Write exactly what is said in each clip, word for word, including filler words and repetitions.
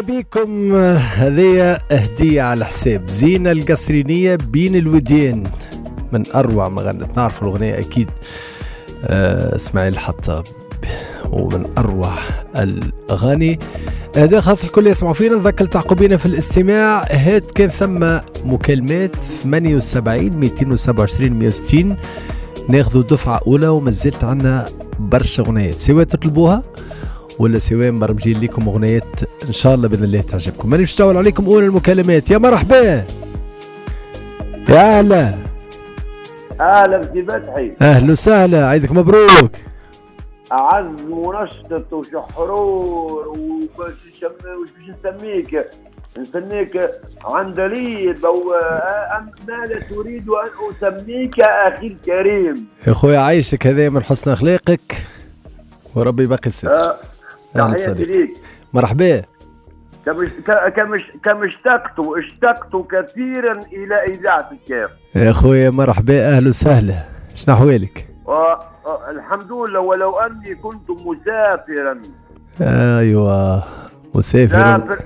بكم هذه هدية على حساب زينة القصرينية بين الوديان، من أروع ما غنت، نعرف الأغنية أكيد، آه اسماعيل الحطاب، ومن أروع الأغاني. هذا خاص الكل يسمعوا فينا. نذكر تعقبينا في الاستماع، هات كان ثم مكالمات ثمانية وسبعين مئتين وسبعة وعشرين مئة وستين، ناخذوا دفعة أولى وما زلت عنا برشا أغنيات سواء تطلبوها ولا سواء مبرمجين لكم أغنيات إن شاء الله بإذن الله تعجبكم. ماني باش نطول عليكم. أولى المكالمات، يا مرحبا، يا أهلا. أهلا بسي فتحي. أهلا وسهلا، عيدك مبروك. أعز منشط وشحرور وباش نسميك، نسميك عندليب أو ما لا تريد أن أسميك أخي الكريم. يا خويا عايشك، هذا من حسن أخلاقك وربي يبقي الستر. أه تحياتي ليك. مرحبا. كم كم كم اشتقت اشتقت كثيرا الى اذاعة الكاف. يا خويا مرحبا، اهلا وسهلا، شنو احوالك؟ الحمد لله، ولو اني كنت مسافرا. ايوه مسافرا. سافر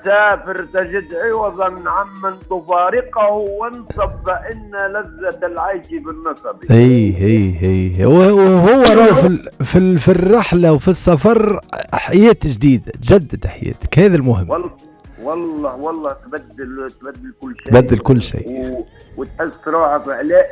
سافر تجد عوضا عمن تفارقه وانصب فان لذة العيش بالنصب. اي اي اي وهو راهو في في في الرحلة وفي السفر حياة جديدة، تجدد حياتك، هذا المهم. والله والله والله تبدل تبدل كل شيء، تبدل كل شيء و... وتحس روحك،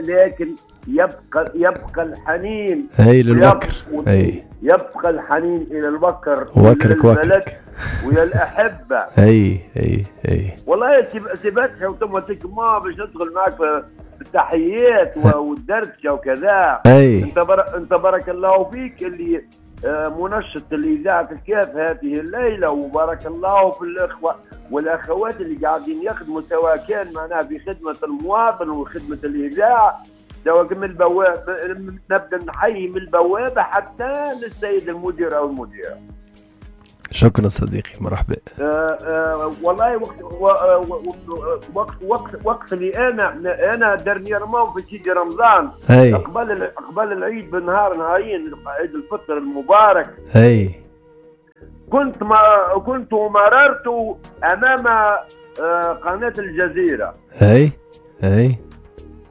لكن يبقى يبقى الحنين اي للوكر، اي يبقى الحنين الى الوكر، وكرك وكرك ويا الأحبة. اي اي اي والله سي فتحي اوتوماتيك ما باش ندخل معك في التحيات والدردشة وكذا. اي انت بر... انت بارك الله فيك اللي منشط الإذاعة الكاف هذه الليلة، وبارك الله في الإخوة والأخوات اللي قاعدين يخدموا، سواء كان معناها في خدمة المواطن وخدمة الإذاعة، سواء من البوابة، نبدأ نحيي من البوابة حتى للسيد المدير أو المديرة. شكرا صديقي، مرحبا. آه آه والله وقت وقت وقت وقت اللي انا انا dernièrement في سيدي رمضان، قبل قبل العيد بنهار نهارين، عيد الفطر المبارك. اي كنت ما كنت مررت امام آه قناة الجزيرة. اي اي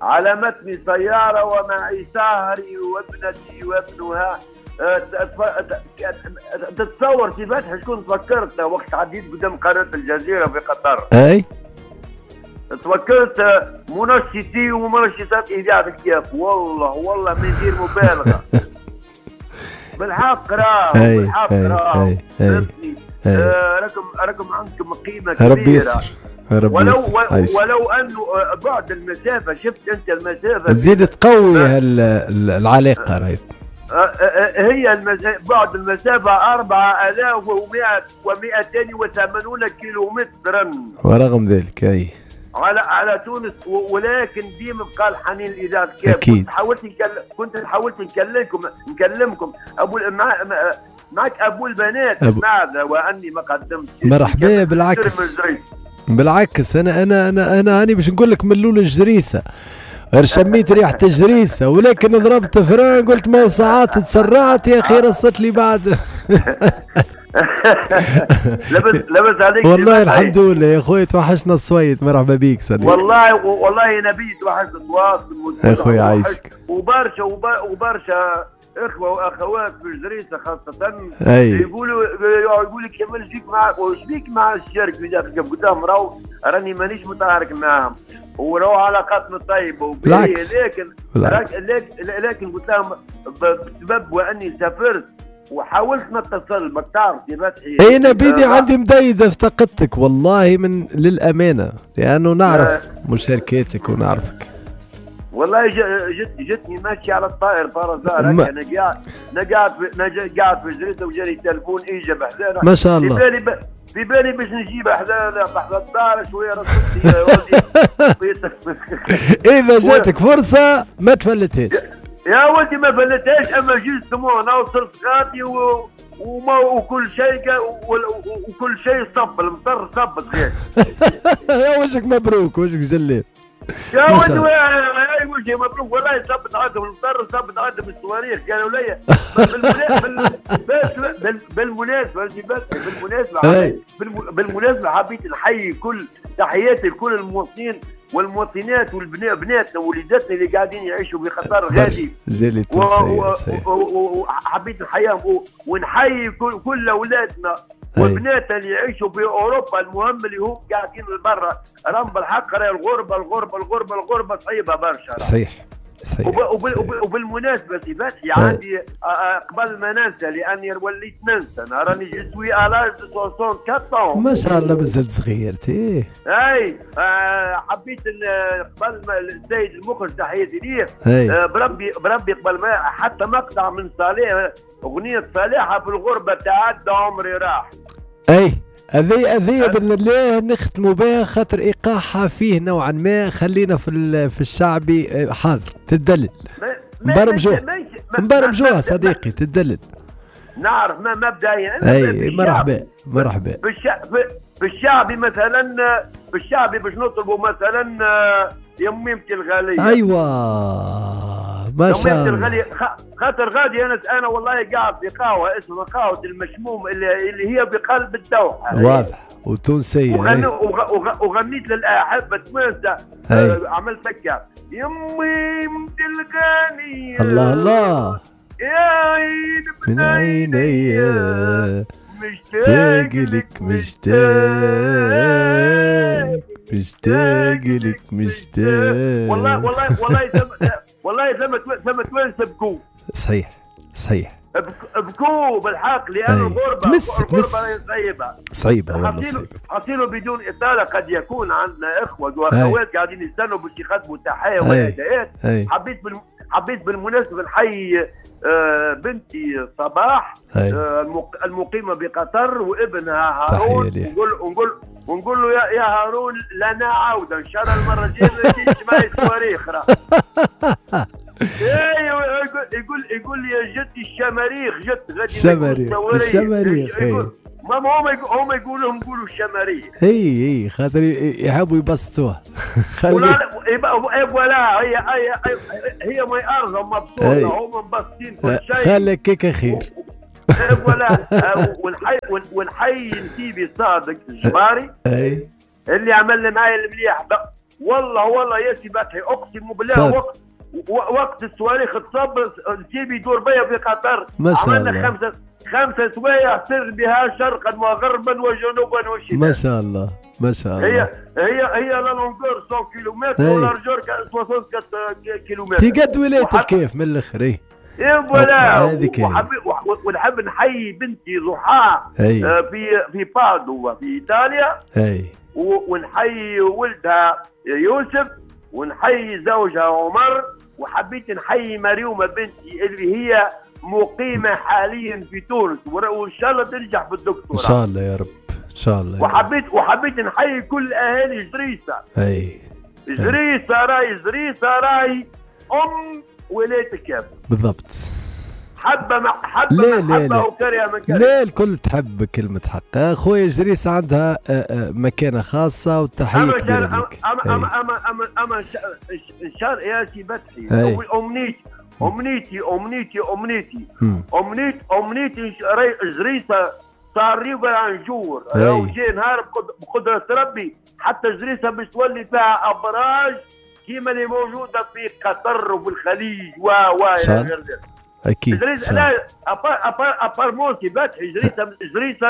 على متن سيارة ومعي سهري وابنتي وابنها. تتصور سي فتحي شكون تفكرت وقت عديت قدام قناة الجزيرة في قطر؟ اي تفكرت منشطي ومنشطات إذاعة الكاف، والله والله من غير مبالغة. بالحق راه، بالحق راه، راكم راكم عندكم قيمة كبيرة. ربي يسر، ربي ولو يسر. ولو انه بعد المسافة، شفت انت المسافة تزيد تقوي العلاقة رايت. هي المز... بعد المسافة أربعة آلاف ومئة ومئتين وثمانون كيلو مترا، ورغم ذلك أي على على تونس، ولكن ديما بقى الحنين الإذاعة الكاف. أكيد. كنت حاولت نكلم كنت حاولت نكلمكم نكلمكم أبو مع... معك أبو البنات أبو... ماذا وأني ما قدمت. مرحبا. بالعكس بالعكس، أنا أنا أنا أنا أنا باش نقول لك من الأول الجريسة، غير شميت ريحة الجريسة، ولكن ضربت فران قلت ما ساعات تسرعت يا أخي، رصت لي بعد. لبس لبس عليك والله. الحمد لله يا خويا، توحشنا الصويت. مرحبا بيك صديقي. والله والله نبي توحشنا التواصل يا خويا، عايشك. وبرشا وبرشا اخوه واخوات في الجريسه خاصة يقولوا يقول لك كمل فيك مع وش بيك مع الشرك في داخل قدام، راهو راني مانيش متعارك معاهم وراهو علاقاتنا طيبة، بالعكس لكن بالعكس. لكن لكن قلت لهم بسبب واني سافرت وحاولت نتصل بك، تعرف يا فتحي. اي انا بيدي عندي مدايده افتقدتك والله، من للامانة، لانه نعرف مشاركاتك ونعرفك. والله جت جتني ماشي على الطائر فرزار، انا قاعد انا قاعد انا قاعد في جريدة وجاني تلفون اجى بحذانا ما شاء الله. في بالي ب... في بالي باش نجيب حذانا بحذا الدار شوية رصدتي يا ولدي. اذا جاتك فرصة ما تفلتهاش يا ولدي، ما فلتهاش. اما justement انا وصلت غادي و... وما وكل شيء و... وكل شيء صب المطر صبت. يا وجهك مبروك، وجهك جليل يا ولدي. كل شيء مبروك. والله صبت عندهم المطر، صبت عندهم الصواريخ، قالوا لي بالمناسبة بالمناسبة بالمناسبة حبيت نحيي كل تحياتي لكل المواطنين والمواطنات والبناتنا ووليداتنا اللي قاعدين يعيشوا بخطر غادي. وحبيت نحييهم ونحيي كل اولادنا وبناتنا اللي يعيشوا في اوروبا. المهم اللي هم قاعدين برا راهم بالحق، راهي الغربة الغربة الغربة الغربة صعيبة برشا. صحيح صحيح. وبالمناسبة سي فتحي عندي قبل ما ننسى، لاني وليت ننسى، انا راني je suis à l'âge de soixante-quatre. ما شاء الله مازلت صغير تي. اي حبيت قبل ما السيد المخرج تحياتي ليه، بربي بربي قبل ما حتى مقطع من صالح اغنية صالحه في الغربة تعدى عمري راح. اي هذه هذه باذن الله نختموا بها، خاطر ايقاعها فيه نوعا ما. خلينا في في الشعبي حاضر تدلل. نبرمجوها نبرمجوها صديقي، تدلل. نعرف ما مبدئيا. اي مرحبا مرحبا. في الشعبي مثلا، في الشعبي باش نطلبوا مثلا يا ميمتي الغالية. ايوه ما شاء الله. الغالية خاطر غادي انا انا والله قاعد في قهوة اسمها قهوة المشموم اللي, اللي هي بقلب الدوحة. واضح وتونسيه. وغن... وغ... وغنيت للاحبه توانسة. آه عملت هكا يا ميمتي الغالية. الله الله يا عين من عيني مشتاق لك مشتاق مشتاق لك مشتاق. والله والله والله والله ثم ثم توانسة بكو. صحيح صحيح بكو بالحق، لأن الغربة الغربة صعيبة صعيبة والله صعيبة. حصيله بدون إطالة، قد يكون عندنا إخوة وأخوات قاعدين يستنوا باش يخدموا تحية وأداءات. حبيت بال... حبيت بالمناسبة نحيي بنتي صباح المقيمة بقطر وابنها هارون، ونقول ونقول ونقول له يا, يا هارون لنا عودة إن شاء الله المرة الجاية ما تجيش معي صواريخ. يقول يقول لي يا جدي الشماريخ جت غادي الشماريخ الشماريخ. ما هم هم يقولوا نقولوا الشماريخ. اي اي خاطر يحبوا يبسطوها. ولا ولا هي هي هي ما ارضهم مبسوطة، هم مبسطين كل شيء. خليك كيك خير. ولا والحي والحي نسيبي صادق الجباري اي اللي عمل لي معايا المليح. والله والله يا سي فتحي اقسم بالله وقت وقت الصواريخ تصب نسيبي يدور بيا في قطر. ما شاء الله. عملنا خمسة خمسة سوايع سر بها شرقا وغربا وجنوبا وشمالا. ما شاء الله ما شاء الله. هي هي هي la longueur مية كيلومتر و largeur أربعة وستين كيلومتر. تي قد ولاية الكيف من الاخر. اي voilà. ونحب نحيي بنتي ضحى في في بادو في ايطاليا. اي ونحيي ولدها يوسف، ونحيي زوجها عمر، وحبيت نحيي مريومه بنتي اللي هي مقيمة حاليا في تونس، وان شاء الله تنجح في الدكتوراه ان شاء الله يا رب ان شاء الله. وحبيت وحبيت نحيي كل اهالي جريسه. اي جريسه راي جريسه راي ام ولاية الكاف بالضبط. حبه مع حبه لا لا حبه وكريه من كريه. لا الكل تحب كلمة حق. اخويا جريسه عندها مكانه خاصة وتحية كبيرة لك. اما اما اما اما اما ان شاء يا سي فتحي امنيتي امنيتي امنيتي امنيتي امنيتي امنيتي جريسه صار un jour لو جاي نهار بقدره ربي حتى جريسه باش تولي فيها ابراج كيما اللي موجودة في قطر وفي الخليج و و الى غير ذلك. اكيد جريسه لا apparemment سي فتحي جريسه جريسه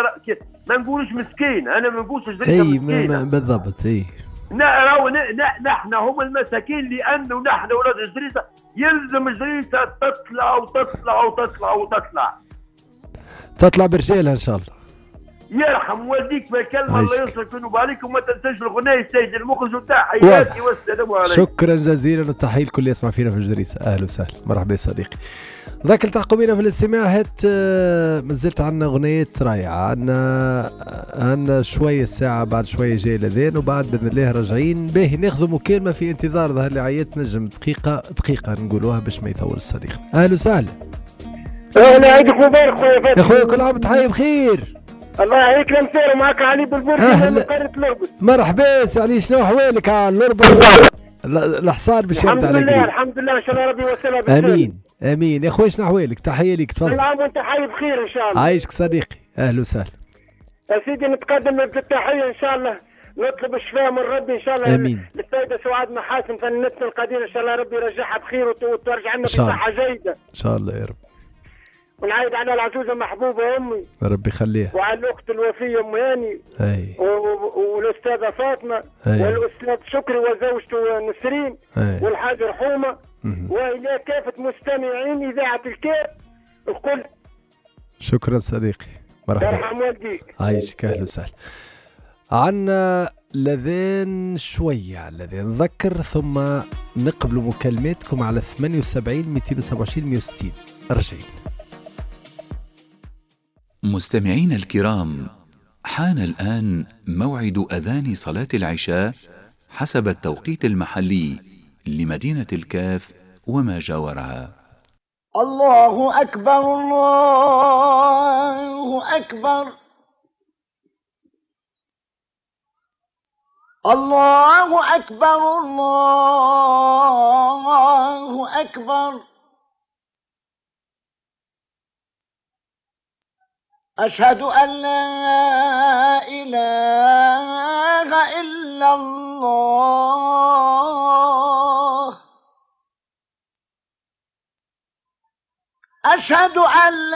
ما نقولوش مسكين، انا ما نقولش جريسه مسكين بالضبط. اي راهو نحن هم المساكين، لانه نحن ولاد جريسه يلزم جريسه تطلع وتطلع وتطلع وتطلع تطلع برجالها ان شاء الله. يرحم والديك بالكلمة، الله ينصرك وينوب عليك، وما تنساش الغناء السيد المخرج وتحياتي والسلام عليكم. شكرا جزيلا والتحيه لكل اللي يسمع فينا في جريسه. اهلا وسهلا مرحبا يا صديقي. ذاك التحقوا بنا في الاستماع. هات مازلت عندنا اغنية رائعة، عندنا عندنا شوية الساعة بعد شوية جاي الاذان، وبعد باذن الله راجعين باهي ناخذ مكالمة في انتظار ظهر لي عيات نجم دقيقة دقيقة نقولوها باش ما يطول الصديق. اهلا وسهلا. اهلا عيدك مبارك خويا فاتح. يا خويا كل عام وانت بخير. الله يعيك لمسير، معك علي بالبرج من قرية الأربس. مرحبا سي علي، شنو احوالك على الأربس؟ الحصار باش يبدا على الحمد لله الحمد لله، ان شاء الله ربي يوصلها بالخير. امين امين يا خويا، شنو احوالك؟ تحية ليك، تفضل. كل عام وانت حي بخير ان شاء الله. عايشك صديقي، اهلا وسهلا. يا سيدي نتقدم بالتحية ان شاء الله، نطلب الشفاء من ربي ان شاء الله. امين. للسيدة سعاد محاسن فنانتنا القديره، ان شاء الله ربي يرجعها بخير وترجع لنا بصحة جيدة ان شاء الله يا رب. ونعيد على العزوزه محبوبه امي، ربي يخليها، وعلى الاخت الوفيه ام هاني، اي، والاستاذه فاطمة، أي. والاستاذ شكري وزوجته نسرين، أي. والحاج رحومه، والى كافة مستمعين اذاعة الكاف الكل. شكرا صديقي، مرحبا. يرحم والديك. عايشك، اهلا وسهلا. عنا لذين شوية لذين نذكر ثم نقبل مكالماتكم على ثمانية وسبعين مئتين وسبعة وعشرين مئة وستين. رجعين. مستمعين الكرام، حان الآن موعد أذان صلاة العشاء حسب التوقيت المحلي لمدينة الكاف وما جاورها. الله أكبر الله أكبر الله أكبر الله أكبر، أشهد أن لا إله إلا الله، أشهد أن لا